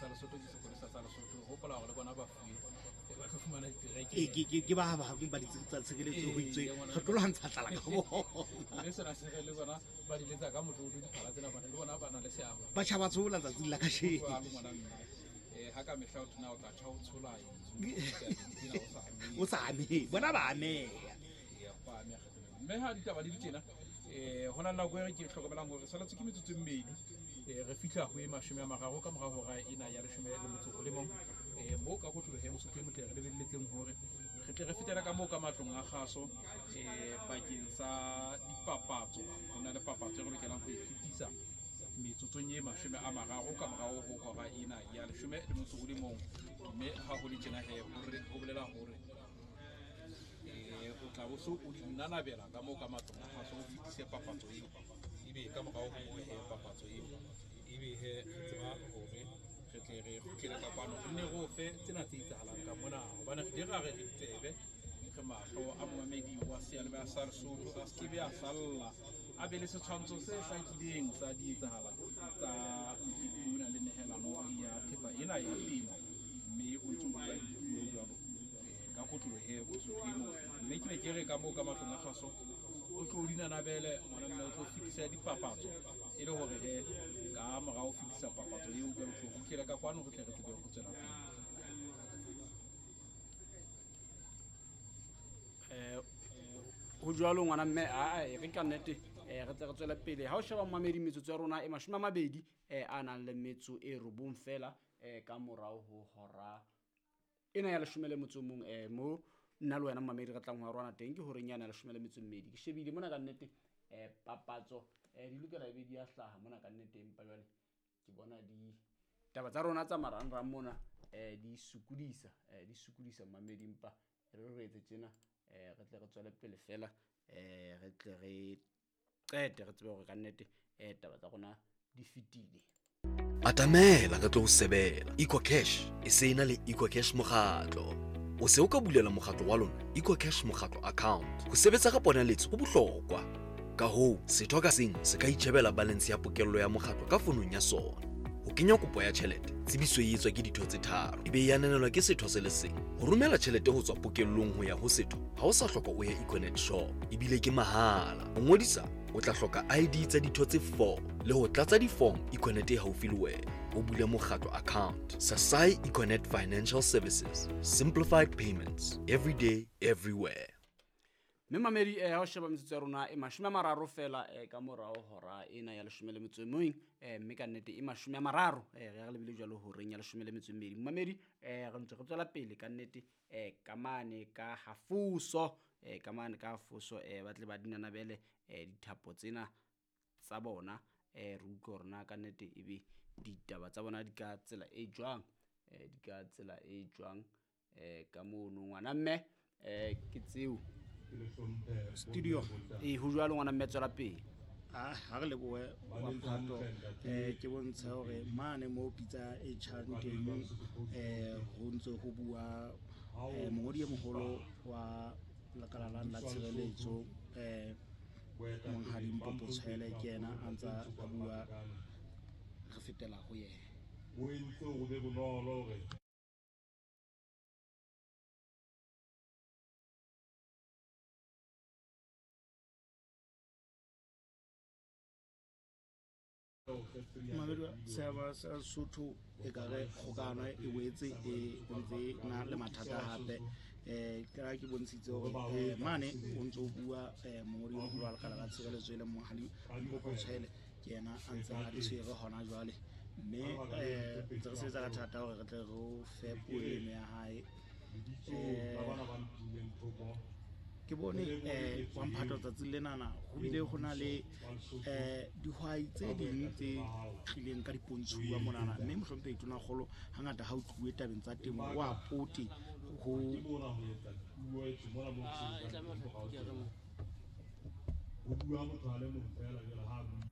sa Lesotho ke sepolesa sa Lesotho. Hopola hore le bona ba fuwe ba tlo fumana ditereke. Ke ba bang ba ditsi tsa tshireletso ho itswe re tlo lwantsha tlala ka bona. Mme sena se re le bona ba di letsa ka motlotlo diphala tsena bana le bona ba na le seabo. Batjha ba tshola tsatsing la kasheno. Jwalo ngwana mme. Ha ka mehla o thona o tla tjha o tshola o sa amehe, bona ba ameha. Mme ha ditaba di le tjena, ho na le nako e re ke hlokomelang hore saletse ke metsotso e mmedi, re fihla ho e 30 ka mora hora ena ya 11. Moo ka kotloloho ya Mosotho e motle re lebelletseng hore re tle re fetele ka moo ka matlong a kgaso, bakeng sa dipapatso. Ho na le papatso e re lokelang ho e fetisa metsotsong e 30 ka morao ho hora ena ya 11. Mme ha ho le tjena he, ho bolela hore o tla bo so o di nanabela ka moo ka matlong a kgaso, o fetise papatso eo. Ebe ka morao ho moo he papatso eo, ebe he re tseba hore re tle re kgutlele ka kwano, re nne re o fe tsena tse etsahalang ka mona, hobane re di ra re re tsebe re mahlo a momamedi wa seyalemoya sa Lesotho a se ke be a salla, a be le setshwantsho se hlakileng sa di etsahala tsa mokete ona le nehelano ya thepa ena ya temo. Mme o ntse o bua dipuo jwalo ka kotloloho he Mosotho e motle. Mme ke ne ke re ka moo ka matlong a kgaso o tlo di nanabele ngwana mme o tlo fetisa dipapatso, e le hore he ka morao ho fetisa papatso eo jwale o tlo kgutlele ka kwano re tle re tsebe ho tswela pele. Ho jwalo ngwana mme, re ka nnete, re tle re tswele pele. Ha o sheba momamedi, metsotso ya rona e 20, a nang le metso e 9 fela, ka morao ho hora ena ya 11, mo nna le wena momamedi re tlang ho arwana teng ke horeng yana ya 12. Ke shebile mona ka nnete, papatso, di lokela ebe di a hlaha mona ka nnete, empa jwale ke bona di taba tsa rona tsa marangrang mona, di sokodisa, di sokodisa momamedi, empa re re etse tjena, re tle re tswele pele fela, re tle re qete re tsebe hore ka nnete, taba tsa rona di fetile. Atamela re tlo o sebela. EcoCash e se ena le EcoCash mokgatlo. O se o ka bulela mokgatlo wa lona EcoCash mokgatlo account. Ho sebetsa ka ponaletso ho bohlokwa. Ka hoo, setho ka seng se ka itjhebela balance ya pokello ya mokgatlo ka fonong ya sona. Ho kenya kopo ya tjhelete, tsebiso e etswa ke ditho tse 3, ebe e ananelwa ke setho se le seng. Ho romela tjhelete ho tswa pokellong ho ya ho setho, ha o sa hloka o ye Econet shop, ebile ke mahala. Ho ngodisa, o tla hloka ID tsa ditho tse 4 le ho tlatsa di-form Econet e haufi le wena. O bule mokgatlo account. Sasai Econet Financial Services. Simplified payments. Every day, everywhere. Mme mamedi, ha o sheba metsotso ya rona e 30 fela, ka morao hora ena ya 11, mme ka nnete e 30, re lebile jwalo horeng ya 12. Mamedi, re ntse re tswela pele ka nnete, ka mane ka hafoso, ka mane ka hafoso, ba tle ba dinanabele, dithapo tsena tsa bona, re utlwe hore na ka nnete ebe ditaba tsa bona di ka tsela e jwang, di ka tsela e jwang, ka mono ngwana mme, ke tseo. Studio. Ho jwalo ngwana mme, tswela pele. Ha re lebohe wa Mphato, ke bontshe hore mane mo pitsa e tjhang teng, ho ntse ho bua, mongodi e moholo wa lekala la tshireletso, Monghadi Mpopo Tshwele, ke yena a ntsa a bua, re fetela ho yena. O entse hore be bonolo hore Mamedi seaba sa Sotho e ka re kgokano e boetse e ntse na le mathata hape. Ke ra ke bontshitse hore, mane o ntso bua, mongodi o moholo wa lekala la tshireletso e leng Monghadi Mpopo Tshwele, ke yena a ntse a tshwere hona jwale. Mme, ntse re sebetsa ka thata hore re tle re o fe puo eno ya hae. Ke bone, wa Mphato tsatsing lenana ho bile ho na le, dihwai tse ding tse tlileng ka dipontshuwa monana, mme mohlomphehi Tonakgolo hangata ha o tluwe tabeng tsa temo wa pote ho Ho bua motho a le mong fela jwale ha a bua.